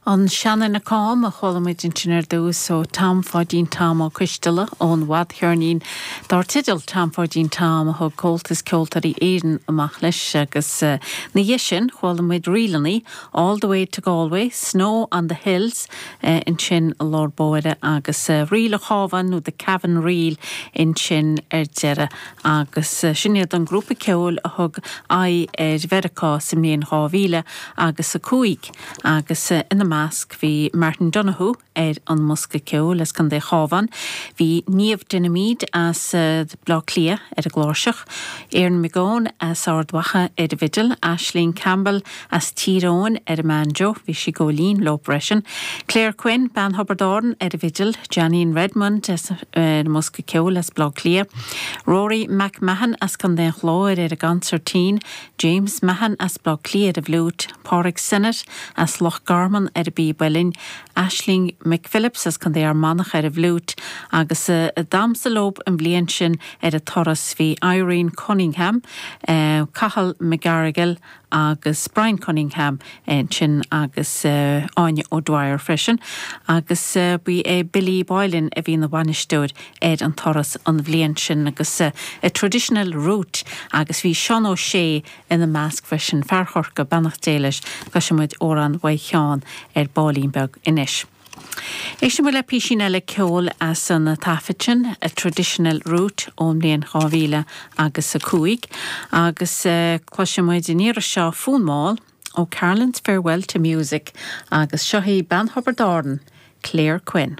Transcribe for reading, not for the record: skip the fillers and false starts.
An Seanduine Cám a chuala muid ansin ar dtús ó Tom Pháidín Tom Ó Coisteala ón bhfadcheirnín dár teideal Tom Pháidín Tom a thug Comhaltas Ceoltóirí Éireann amach leis agus ina dhiaidh sin chuala muid ríleanna All the Way to Galway, Snow on the Hills ansin i lár báire agus Ríl an Chabháin nó The Cavan Reel ansin ar deireadh agus sin iad an grúpa ceoil a thug aghaidh ar Mheiriceá sa mbliain 2000 agus 5. Agus ina measc bhí Martin Donohoe ar an mbosca ceoil as Contae an Chabháin, bhí Niamh Dinomide as Baile Átha Cliath ar an gcláirseach, Aaron McGowan as Ard Mhacha ar an bhfidil, Aisling Campbell as Tír Eoghain ar an mbanjo, bhí sí ag gabháil fhoinn leo freisin, Claire Quinn, bean Thiobraid Árann ar an bhfidil, Johneen Redmond ar an mbosca ceoil as Baile Átha Cliath, Rory McMahon as Contae an Chláir ar an gconsairtín, James Mahon as Baile Átha Cliath ar an bhfliúit, Pádraig Synnott as Loch Garman ar an bpíb uilleann, Aisling McPhillips as Contae Fhear Manach ar an bhfliúit agus a damhsa leo an bhliain sin ar an turas bhí Irene Cunningham, Cathal McGarrigle agus Brian Cunningham ansin agus Áine O'Dwyer freisin agus ba é Billy Boylan a bhí ina bhainisteoir ar an turas an bhliain sin agus A Traditional Route agus bhí Seán Ó Sé ina measc freisin, fear Chorcaí, beannacht Dé leis. Cloisfidh muid amhrán uaidh Sheán ar baillín beag anois. Éistfidh muid le písín eile ceoil as an taifead sin, A Traditional Route ón mbliain 2000 agus 5 agus cloisfidh muid an iarraidh seo Fonn Mall ó Carlin's Farewell to Music agus seo í bean Thiobraid Árann, Claire Quinn.